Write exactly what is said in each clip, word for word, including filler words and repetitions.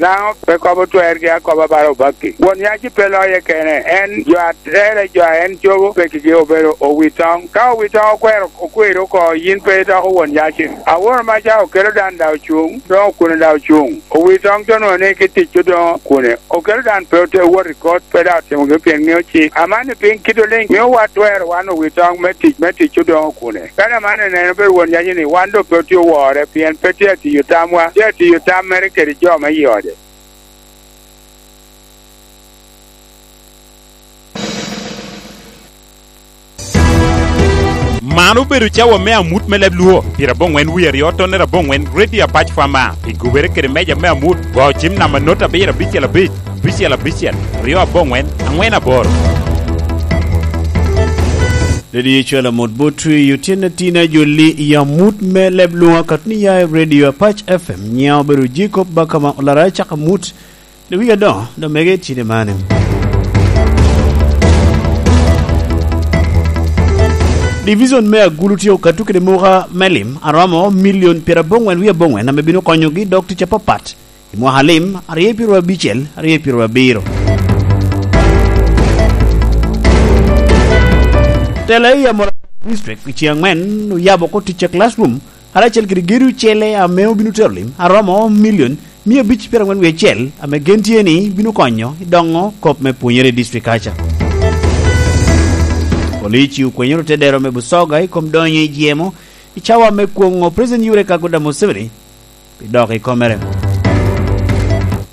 Dano pe kobo twergi akoba bala obakki. Won yaci pe loye kene, en jo a tere jo a en cobo pekigi obedo owitoŋ. Ka owitoŋ okwero, okweri oko, yin pe idoko won yaci. Aworo maca okelo dan da ocuŋ, doŋ okune da ocuŋ. Owitoŋ to nwoŋo ni ki tic odoŋo kune. Okelo dan pe ote wot i kot, pe da otimogi pien ŋeo cik. Amanni piny kit oliŋ mio wa twero wan owitoŋ me tic, me tic odoŋo kune. Kadi amanni neno bedo won yaci ni wan doŋ pe otye owore, pien pe tye atiyo tamwa, tye atiyo tam mere kede jo me i ode. Man obedo cawa me amut me leb Lwo, pire aboŋwen wie aryo tonere aboŋwen, Radio Apac Fama, i gubere kede meja me amut, go cim namba not abiro abicel abic, abicel abicel, ryo aboŋwen, aŋwen aboro. Dadi Ecwel Amut Botwi, otyene tina jolli i amut me leb Lwo, akatni ya i Radio Apac F M, nyiŋa obedo Jacob Bakama, olara cako amut. Dok wigi adoŋo, dok mege i cine mane. Division me Agulu tye okato kede muka me lim a romo milion pyeraboŋwen wie aboŋwen ame bino konyogi dok tic apapat i mwaka lim aryo pyeraryo abicel, aryo pyeraryo abiro. Tela i Amoro District i ceng aŋwen oyabo oko tic a classroom karacel kede gedo ocele ame obino tero lim a romo milion mia abic pyeraŋwen wie acel, ame gen tye ni bino konyo i doŋo kop me pwonyere i district kaca. Polici okwenyoro tedero me Busoga i kom donyo i jemo i cawa me kwoŋo President Yoweri Kaguta Museveni pi dok i komere.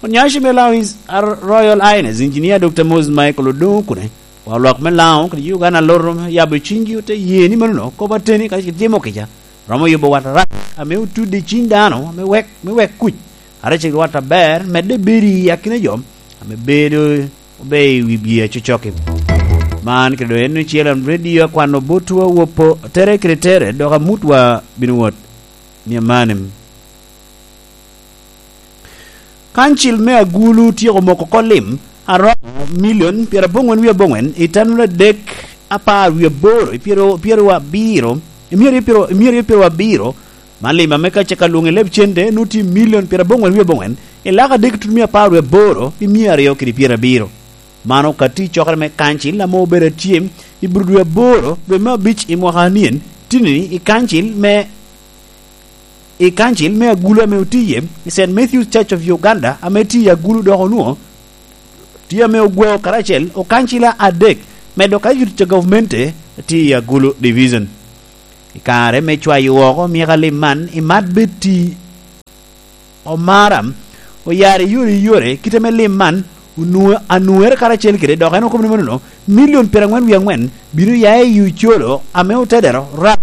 Onyaci me Law His Royal Highness Engineer Doctor Moses Michael Odongo Okune, wa lwak me Laŋo kede Uganda Loro yabo ciŋgi ote ye ni manono kop ateni kacel kede timo kica romo yubo wat arac ame otudde i ciŋ dano ame wek, me wek kuc, karacel kede wat aber medde bedo i akina jo ame bedo obe i wi bye acocok-ki. Man kede doŋ en ocel an redio akwano botwa wopo tere kede tere, dok amutwa bino wot ni amanim. Kancil me Agulu otyeko moko oko lim aromo milion pyeraboŋwen wie aboŋwen i tanura adek apar wie aboro i pyero, pyero abiro, i myero pyero, i myero pyero abiro, man lim ame ka caka lwoŋo i leb cente nwoŋo tye milion pyeraboŋwen wie aboŋwen i lak adek tutumia apar wie aboro i myero aryo kede pyerabiro. Man okatti i cokere me kancil ame obedo atye i Budo dwe aboro, dwe me abic i mwaka anyen, tini i kancil me, i kancil me Agulu ame otiye i Saint Matthew's Church of Uganda ame tye i Agulu dok onwoŋo tye ame ogweo karacel okancila adek, medo ka yuto ca gavumenti tye i Agulu Division. I kare me cwayo woko myeko alim man, i mat Betty Omara, oyaro i yore i yore kite me lim man, onwo-, anwoŋere karacel kede, dok en okobo ni manono, milion pyeraŋwen wie aŋwen bino ya i Ocolo ame otedero ram,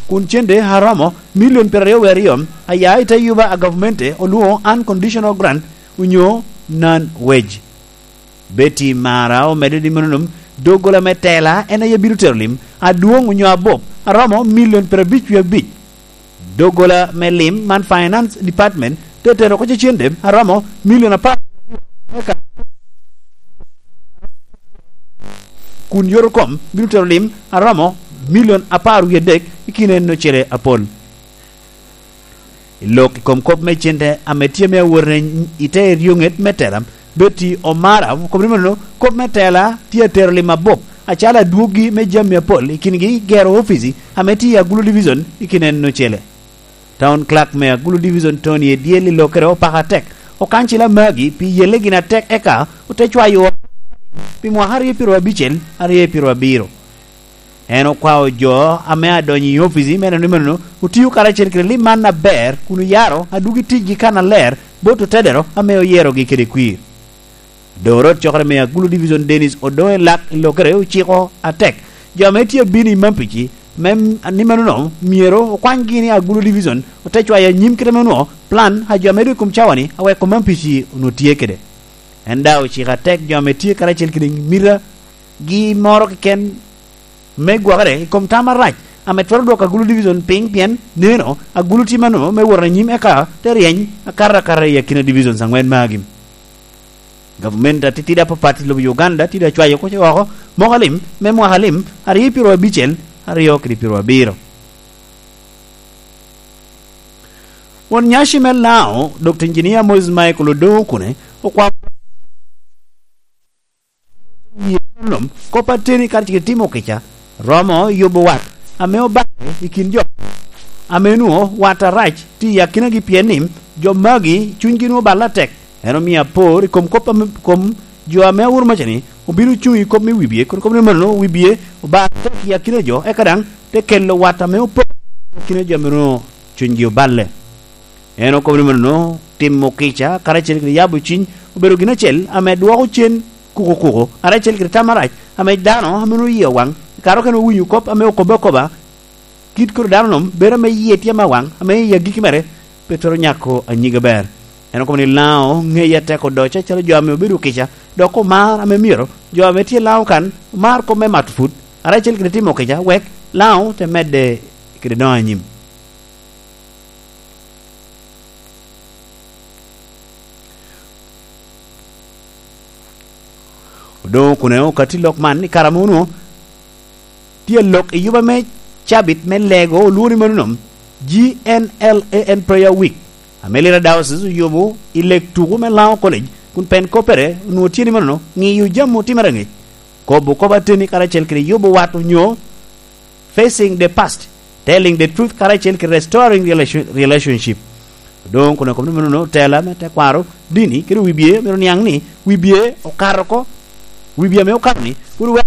kun cente aromo milion pyeraryo wie aryo aya i te yuba a gavumenti olwoŋo unconditional grant onyo non wage. Betty Mara omedde ni manonom, doggola me tela en aye bino tero lim adwoŋ onyo abup aromo milion pyerabic wie abic. Doggola me lim man Finance Department te tero oko cecende aromo milion apar, kun yorokom bino tero lim aromo milion apar wie adek i kine en ocele apol. I lok i kom kop me cente ame tye me awotene i te eryoŋet me tela, Betty Omara okobo ni manono, kop me tela tye atero lim abup, acalo adwoggi me jami apol, i kingi gero opici ame tye i Agulu Division i kine en ocele. Town Clerk me Agulu Division Tony Edyel i lokere opako atek okancila magi pi yelle gin atek eka ote cwayo pi mwaka aryo pyeraryo abicel, aryo pyeraryo abiro. En okwao jo ame adonyo i opici me neno ni manono otio karacel kede lim man aber kun oyaro adwogi ticgi kannaler bot otedero ame oyerogi kede kwir. Doŋ orot cokere me Agulu Division Dennis Odongo Elak i lokere ociko atek jo ame tye abino i Mampici me, ni manono myero okwanygi ni Agulu Division ote cwayo anyim kite me nwoŋo plan a jo ame doŋ i kom cawa-ni aweko Mampici onwoŋo tye kede. En daŋ ociko atek jo ame tye karacel kede mita gi moro keken me gwokere i kom tam arac ame twero dwoko Agulu Division piny, pien neno Agulu tye mano me wot anyim eka te ryeny akato akata i akina divisions aŋwen magi. Gavumenti atitidi apapat i lobo Uganda tye daŋ cwayo oko oko moko alim me mwaka alim aryo pyeraryo abicel, aryo kede pyeraryo abiro. Won nyaci me Laŋo, Dokta Injinia Moses Michael Odongo Okune, okwao kop ateni karacel kede timo kica romo yubo wat ame oballe i kin jo ame nwoŋo wat arac tye i akinagi, pien ni jo magi cunygi nwoŋo balle atek. En omio apor i kom kop ame, kom jo ame awuro maca-ni obino cuŋ i kop me wibie, kun kop ni mano wibie obar atek i akina jo, eka daŋ te kelo wat ame opor i akina jo ame nwoŋo cunygi oballe. En okobo ni mano timo kica karacel kede yabo cwiny obedo gin acel ame dwoko cen kuko kuko, karacel kede tam arac ame dano ame nwoŋo yie owaŋ, i kare okene owinyo kop ame okobo akoba, kit koro dano-nu bedo ame yie tye ame awaŋ, ame i agikki mere pe twero nyako anyig aber. En okobo ni Laŋo ŋeye atek odoco acalo jo ame obedo kica, dok omar ame myero jo ame tye Laŋo kan omar kop me mato put, karacel kede timo kica, wek Laŋo te medde kede doŋo anyim. Odoŋo Okune okatti lok man i kare ame onwoŋo tye alok i yuba me cabit me lego olwoŋo ni mano nom, G N L A N Prayer Week, ame Lira Diocese oyubo i leg tuko me Laŋo College, kun pen koppere onwoŋo tye ni mano ŋiyo jami otimere aŋec, kobo kop ateni karacel kede yubo wat onyo Facing the Past, Telling the Truth karacel kede Restoring Relation-, Relationship. Doŋ kun akobo ni mano tela me tekwaro dini kede wibie myero niaŋ ni wibie okato oko, wibie ame okato ni pwod oweko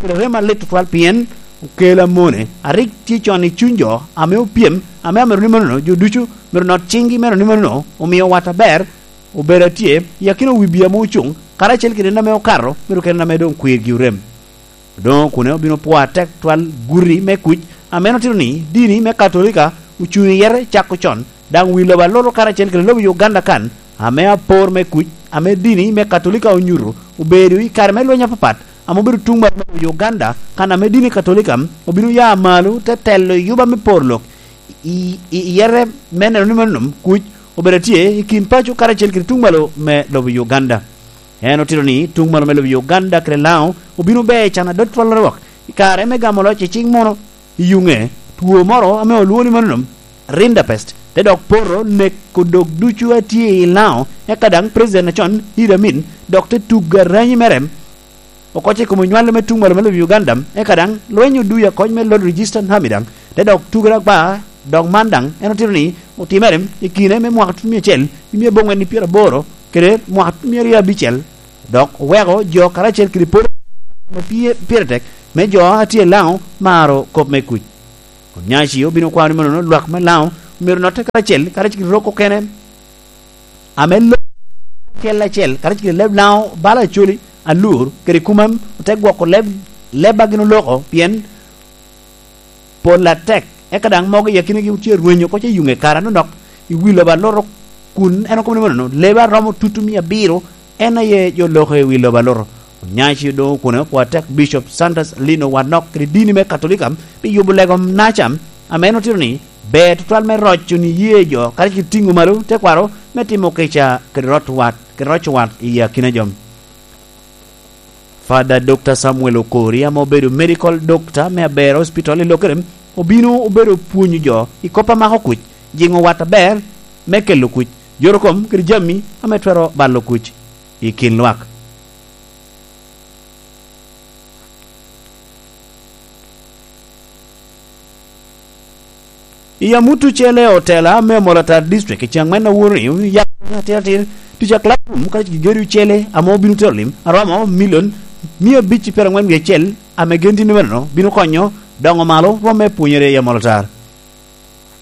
kede rem alit tutwal, pien okelo amone a rik tye con i cuny jo ame opyem, ame amito ni mano jo ducu myero not ciŋgi, meno ni mano omio wat aber obedo atye i akina wibie ame ocuŋ, karacel kede en ame okato, myero kede en ame doŋ kwirgi orem. Odoŋo Okune obino pwoo atek twal guti me kuc ame en otito ni dini me Katolika ocuŋ i yere cako con, daŋ wi lobo aloro karacel kede lobo Uganda kan, ame apor me kuc ame dini me Katolika onyuto obedo i kare me lweny apapat ame obedo tuŋ malo me lobo Uganda, kan ame dini Katolika obino ya malo te telo i yuba me poro lok i, i, i yere me neno ni mano kuc obedo atye i kin paco karacel kede tuŋ malo me lobo Uganda. En otito ni tuŋ malo me lobo Uganda kede Laŋo obino ber can adot twallere wok i kare me gamo loc i ciŋ muno i yuŋe two moro ame olwoŋo ni mano Rinderpest, te dok poto neko dog ducu a tye i Laŋo, eka daŋ President acon Idi Amin dok te tugo aranyi mere oko i kom onywale me tuŋ malo me lobo Uganda, eka daŋ lweny oduyo akoc me Lord Regis Turnham daŋ te dok tugere agba. Dok man daŋ en otito ni otimere i kine me mwaka tutumia acel i mia abongwen i pyeraboro kede mwaka tutumia aryo abicel, dok oweko jo karacel kede polo ame pye-, pire tek me jo a tye i Laŋo maro kop me kuc. Onyaci obino kwano ni manono lwak me Laŋo myero notte karacel, karacel kede rok okene ame lo acel acel, karacel kede leb Laŋo bala Acholi, Alur kede Kumam, ote gwoko leb, leb a gin oloko, pien pol atek, eka daŋ mogo i akinagi otye rwenyo oko ce yuŋe kare anonok i wi lobo aloro, kun en okobo ni manono, lebe a romo tutumia abiro en aye jo loko i wi lobo aloro. Onyaci Odoŋo Okune opwoo atek Bishop Sanders Lino Wanok kede dini me Katolika pi yubo lego naca, ame en otito ni ber tutwal me roco ni ye jo, karacel kede tiŋo malo tekwaro me timo kica kede rot wat, kede roco wat i akina jo. Father Doctor Samuel Okori, ame obedo medical doctor me Aber Hospital i Lokere, obino obedo pwonyo jo i kop a mako kuc, jiŋo wat aber me kelo kuc, joro kom kede jami ame twero balo kuc i kin lwak. I amut ocele, otela me Molatar District i Caŋwen Awuri yako atir atir tic a classroom ka gigedo ocele ame obino tero lim aromo milion mia abic i pyerangwen wie acel, ame gen tye ni meno bino konyo doŋo malo rwom me pwonyere i Molatar.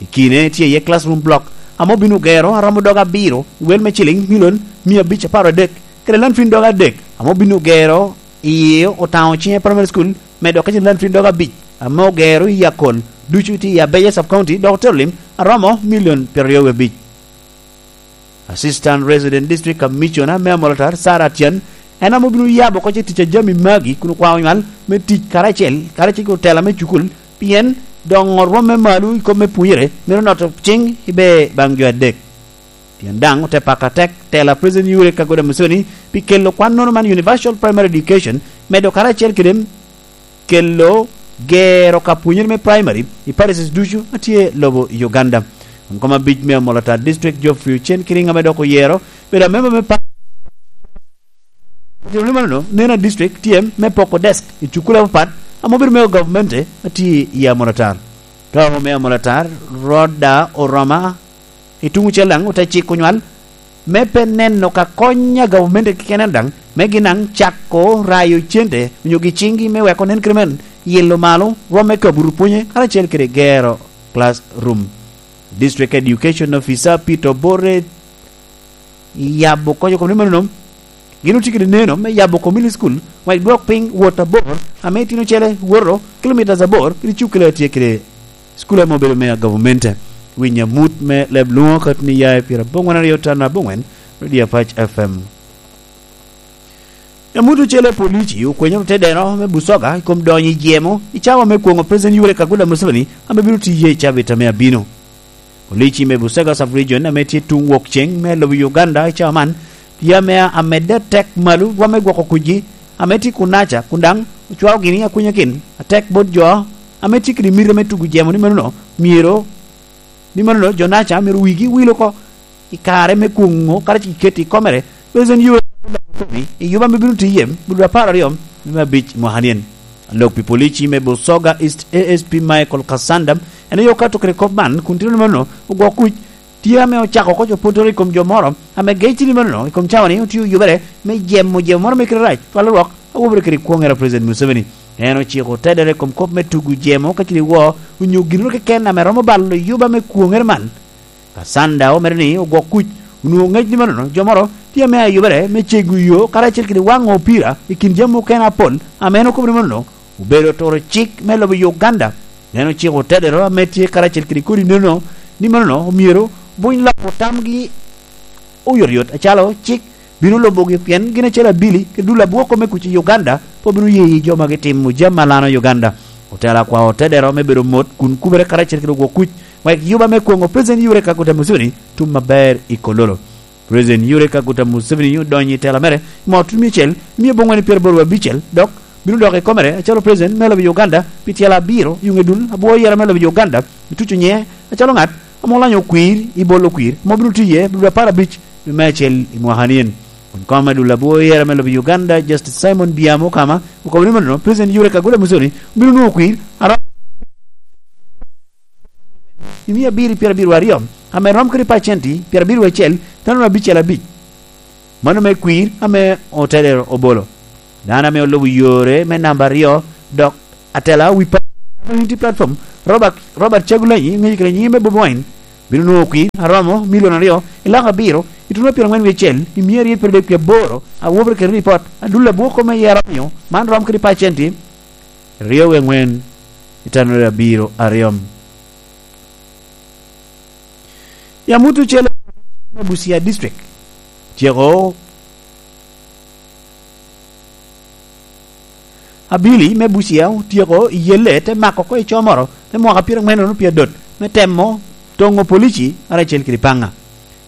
I kine tye iye classroom block ame obino gero aromo dog abiro i wel me ciliŋ milion mia abic apar adek, kede lantwin dog adek ame obino gero i Otaŋo Cinye Primary School, medo ka ciliŋ lantwin dog abic ame ogero i Akol, ducu tye i Abeja Sub County, dok otero lim aromo milion pyeraryo wie abic. Assistant Resident District Commissioner me Amolatar, Sarah Atyan, en ame obino yabo oko ce tic a jami magi kun okwao nywal me tic karacel, karacel ki otela me cukul, pien doŋo rwom me malo i kop me pwonyere mito noto ciŋ ibe baŋ jo adek. Pien daŋ ote pako atek tela President Yoweri Kaguta Museveni pi kelo kwannono man Universal Primary Education, medo karacel kede kelo gero ka pwonyere me primary i parishes ducu a tye lobo i Uganda. Kom abic me Amolatar District, Geoffrey Ocen Kiringa, ame dok oyero bedo amemba me pa-, Jami manono, neno a district tye me poko desk i cukule apapat ame obedo me gavumenti a tye i Amolatar. Ka ome Amolatar, Rhoda Oroma, i tuŋ ocel daŋ ote ciko nywal me pe neno ka kony a gavumenti keken daŋ, me gin daŋ cako rayo cente onyo gi ciŋgi me weko nen kede men yelo malo rwom me kabuto pwonye karacel kede gero classroom. District Education Officer Peter Obote yabo kony oko ni manono, gin otye kede neno me yabo community school, wek dwok piny wot abor ame itino ocele woto kilomitas abor kede cukule a tye kede cukule ame obedo me gavumenti. Winy amut me leb lwoŋo kati ni ya i pira abongwen aryo tan abongwen, Radio Apac F M. Amut ocele polici okwenyo otedeno me Busoga i kom donyo i jemo i cawa me kwoŋo President Yoweri Kaguta Museveni ame bino tiye i cabit ame abino. Polici me Busoga Sub-Region ame tye tuŋ wok ceŋ me lobo Uganda i cawa man tye ame amedde atek malo rwom me gwoko kucgi ame tye kunaca kun daŋ ocwao gini akunyakin atek bot jo ame tye kede miti me tugo jemo ni manono myero ni manono jo naca myero wigi wil oko i kare me kwoŋo karacel kede keto i komere President Yoweri Kaguta Museveni i yuba ame bino tiye bulu apar aryo me abic mwaka nyen. Alok pi polici me Busoga East A S P Michael Kasanda en aye okato kede kop man kun tino ni manono ogwok kuc tye ame ocako oko copotere i kom jo moro ame gecci ni manono i kom cawa ni otye oyubere me jemo jemo moro me kite rac cwalo rwok awobere kede kwoŋere a President Museveni. En ociko tedere i kom kop me tugo jemo ka ciri wo onyo ginnoro keken ame romo balo yuba me kwoŋere man. Kasanda omedo ni ogwok kuc onwoŋo ŋec ni manono jo moro tye ame ayubere me cego yo karacel kede waŋo opira i kin jami okene apol ame en okobo ni manono obedo turo cik me lobo Uganda. En ociko tedero ame tye karacel kede kodi nono ni manono omyero buny loko tamgi oyotyot acalo cik bino lubogi pien gin acel abili kede dul abwoko me kuc i Uganda pe obino ye i jo ma gitimo jami alano i Uganda. Otelo akwao tedero me bedo mot kun kubere karacel kede ogwok kuc wek yuba me kwoŋo President Yoweri Kaguta Museveni tum aber i Kololo. President Yoweri Kaguta Museveni odonyo i tela mere i mwaka tutumia acel mia abongwen pyeraboro abicel dok bino dok i komere acalo President me lobo Uganda pi tyela abiro i ŋe dul abwo yera me lobo Uganda ituco nyiŋe acalo ŋat ame olanyo okwir i bolo okwir ame obino tiye bulu apar abic me me acel i mwaka nien. Kun kom me dul abwo yera me lobo Uganda Justice Simon Biamo Okama okobo ni manono President Yoweri Kaguta Museveni obino nwoŋo okwir aromo i mia abiro pyerabiro aryo ame rom kede pacenti pyerabiro acel tano abicel abic. Mano me kwir ame otedero obolo dano ame olubo yore me namba aryo dok atela wi pa community platform Robert, Robert Chagulanyi ŋeyo kede nyinge me Bobi Wine bino nwoŋo kwir aromo milion aryo i lak abiro ituno pyerangwen wi acel i mia aryo pyerabek pi aboro awobere kede ripot adul abwoko me yero omiyo man rom kede pacenti ryo wi angwen i tano abiro aryo. Yam wot ocele me Busia District tyeko abili me Busia otyeko i yelle te mako oko i comoro me mwaka pyerangwen pi adot me temo toŋo polici karacel kede paŋa.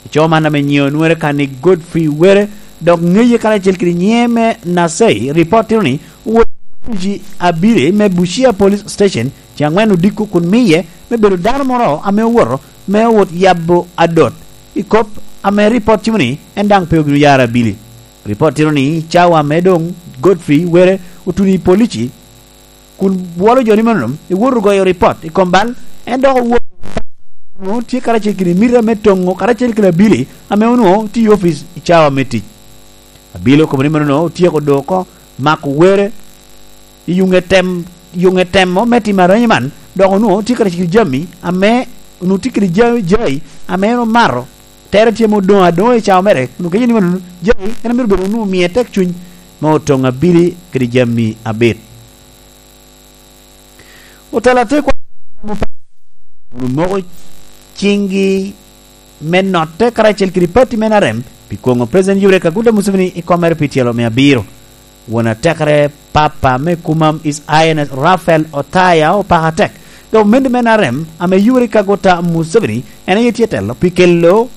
I co man ame nyiŋe onwere kan i Godfrey Were dok ŋeye karacel kede nyiŋe me Nasei ripot tino ni owot polici abili me Busia Police Station ce angwen odiko kun miye me bedo dano moro ame owoto me owot yabo adot i kop ame ripot timo ni en daŋ pe obino yaro abili. Ripot tito ni cawa me doŋ Godfrey Were otuno i polici kun bwolo jo ni manono ewoto goyo ripot i kom bal en dok owoto onwoŋo tye karacel kede mita me toŋo karacel kede abili ame onwoŋo tye i opic i cawa me tic. Abili okobo ni manono otyeko do oko mako Were i yuŋe tem yuŋe temo me timo aranyi man dok onwoŋo tye karacel kede jami ame onwoŋo tye kede jai ame en omato tere tye ma odoŋo adoŋa i cawa mere kun ogenyo ni manono jai en amito bedo onwoŋo omiye tek cuny me otoŋ abili kede jami abit. Otelo atekwa omoko ciŋgi me notte karacel kede pati me N R M pi kwoŋo President Yoweri Kaguta Museveni i kom mere pi tyelo me abiro. Won atekere Papa me Kumam His Highness Raphael Otaya opako atek gavumenti me N R M ame Yoweri Kaguta Museveni en aye tye telo pi kelo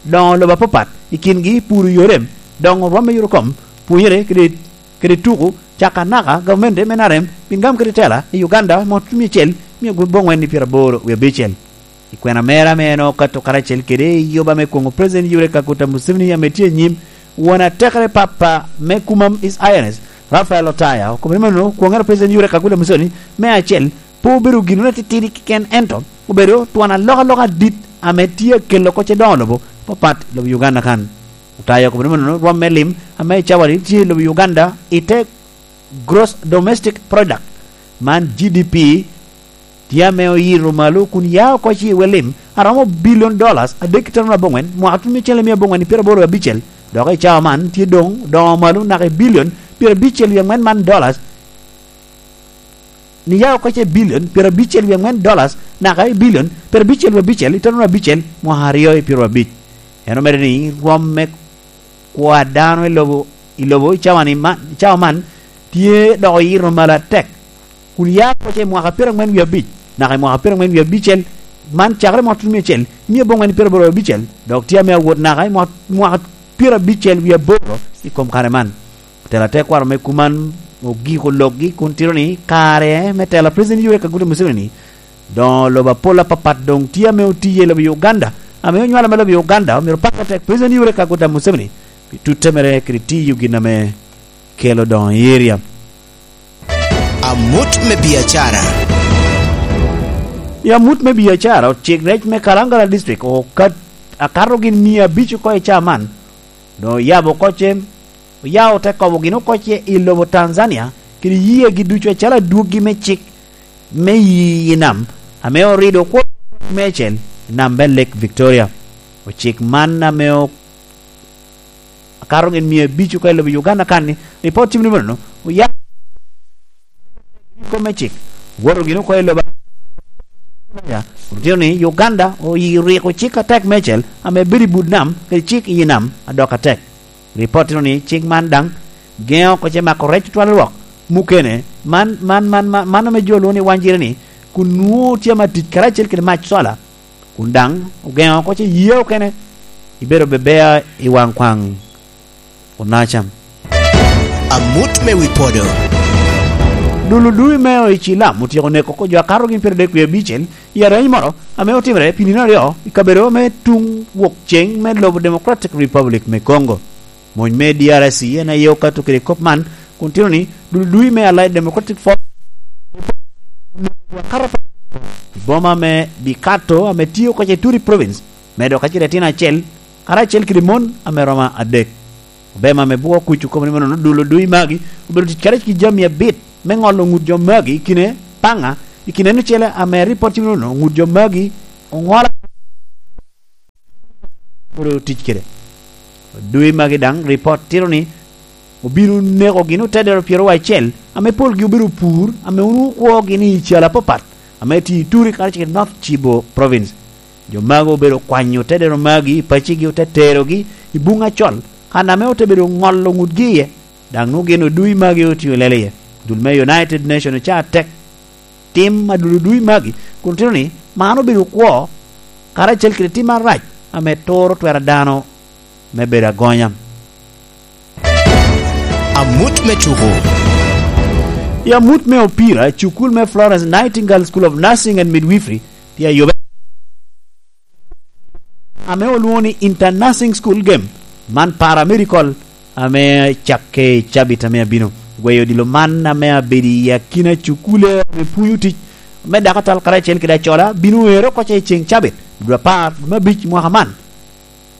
doŋo lobo apapat i kingi puro yorem, doŋo rwom me yot okom, pwonyere kede kede tuku caka anaka gavumenti me N R M pi gam kede tela i Uganda mwaka tutumia acel mia abongwen i pyeraboro wie abicel. I kwena mere ame en okato karacel kede i yoba me kwoŋo President Yoweri Kaguta Museveni ame tye anyim, won atekere papa me kuma His Highness Raphael Otaya okobo ni mano kwoŋere President Yoweri Kaguta Museveni me acel pe obedo gin atitidi keken, ento obedo twon alokaloka adit ame tye akelo kocce doŋo lobo papat i lobo Uganda kan. Otaya okobo ni mano rwom me lim ame i cawani tye i lobo Uganda i te gross domestic product, man G D P, tye ame oyito malo kun ya oko ci i wel lim aromo billion dollars adek ki tano aboŋwen mwaka tun me cente mia aboŋwen i pyeraboro abicel, dok i cawa man tye doŋ doŋo malo naka i billion pyerabicel wie aŋwen man dollars, ni ya oko ci i billion pyerabicel wie aŋwen dollars naka i billion pyerabicel wie abicel i tano abicel mwaka aryo i pyero abic. En omedde ni rwom me kwo a dano i lobo, i lobo i cawa-ni man, i cawa man tye dok oyito malo atek, kun ya oko ci i mwaka pyeraŋwen wie abic naka i mwaka pyeraŋwen wie abicel, man cakere i mwaka tutumia acel mia aboŋwen pyeraboro abicel, dok tye ame awot naka i mwaka, mwaka pyerabicel wie aboro i kom kare man. Otelo atekwaro me kuman ogiko lokgi kun tito ni kare me telo a President Yoweri Kaguta Museveni doŋ lobo apol apapat doŋ tye ame otiye i lobo Uganda, ame onywalo me lobo Uganda omyero pakke atek President Yoweri Kaguta Museveni pi tutte mere kede tiyo gin ame kelo doŋo i eria. Amut me biacara. I amut me biacara, ocik rec me Kalangala District okat-, akato gin mia abic oko i caa man, doŋ oyabo oko ce, oyao te kobo gin oko ce i lobo Tanzania kede yiegi ducu acalo adwoggi me cik me yi i nam, ame orido kwo mecel i nam me Lake Victoria. Ocik man ame o-, akato gin mia abic oko i lobo Uganda kan-ni, ripot timo ni mano, oya kom me cik, woto gin oko i lobo, otito ni Uganda oyi-, oriko cik atek mecel ame bedo i but nam, kede cik i nam adok atek. Ripot tito ni cik man daŋ geŋo oko ce mako rec otwal rwok mukene, man, man, man, man, man ame jo lwongo ni wanjire-ni, kun nwoŋo tye ama tic karacel kede mac cola. Kun daŋ ogeŋo oko ce yia okene, ibedo bebea i waŋ kwaŋ Onacam. Amut me wi podo. Dul odui me o i Cilam otyeko neko oko jo akato gin pyeradek wie abicel i areny moro ame otimere pi nino aryo i kabedo me tuŋ wok ceŋ me lobo Democratic Republic me Congo. Mony me D R C en aye okato kede kop man, kun tito ni dul dui me Allied Democratic Force i boma me Bikato ame tye oko i Ituri Province, medo kacel etino acel, karacel kede mon ame romo adek. Obema me bwo kuc okobo ni manono dul dui magi obedo tic kede ki jami abit me ŋolo ŋut jo magi i kine paŋa, i kine en ocele ame ripot timo nono ŋut jo magi oŋolo. Pwod otic kede. Dwe magi daŋ, ripot tito ni obino neko gin otedero pyeraryo acel, ame polgi obedo pur, ame onwoŋo kwogi ni i calo apapat, ame tye i Ituri karacel kede North Kivu Province. Jo magi obedo kwanyo otedero magi i pacigi, ote terogi i Buŋ Acol, kan ame ote bedo ŋolo ŋutgi iye. Daŋ nwoŋo gin odui magi otio lel iye. Dul me United Nation oca tek tim a dul odui magi, kun tito ni man obedo kwo, karacel kede tim arac ame turo twero a dano me bedo agonya. Amut me tuko. I amut me opira, cukul me Florence Nightingale School of Nursing and Midwifery tye ayube ame olwoŋo ni Inter Nursing School Game, man Paramedical, ame cakke i cabit ame abino. Gweyo odilo man ame abedo i akina cukule ame pwonyo tic me dako atal karacel kede acola bino ero oko ce i ceŋ cabit, dwe apar, dwe me abic mwaka man,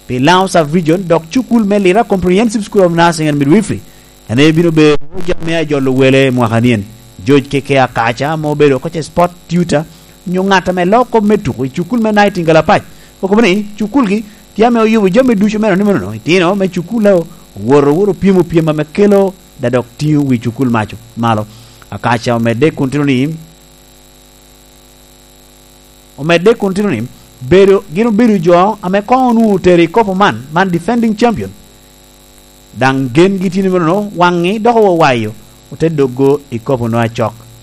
pi Laŋo Sub Region, dok cukul me Lira Comprehensive School of Nursing and Midwifery. En aye bino bedo jami a jolo wele mwaka nien. George Keke Akaca ame obedo oko ce sport tutor, nyo ŋat ame loo kop me tuko i cukul me Nightingale Apac, okobo ni cukulgi tye ame oyubo jami ducu me nonino, itino me cukul owoto, owoto pyemo pyem ame kelo dadok tiŋo wi cukul maco malo. Akaca omedde kun tito ni, omedde kun tito ni, bedo, gin obedo jo ame koŋ onwoŋo otero i kopo man, man defending champion. Daŋ gengi tye ni menono, waŋŋi dok owayo, ote doggo i kopo no acok.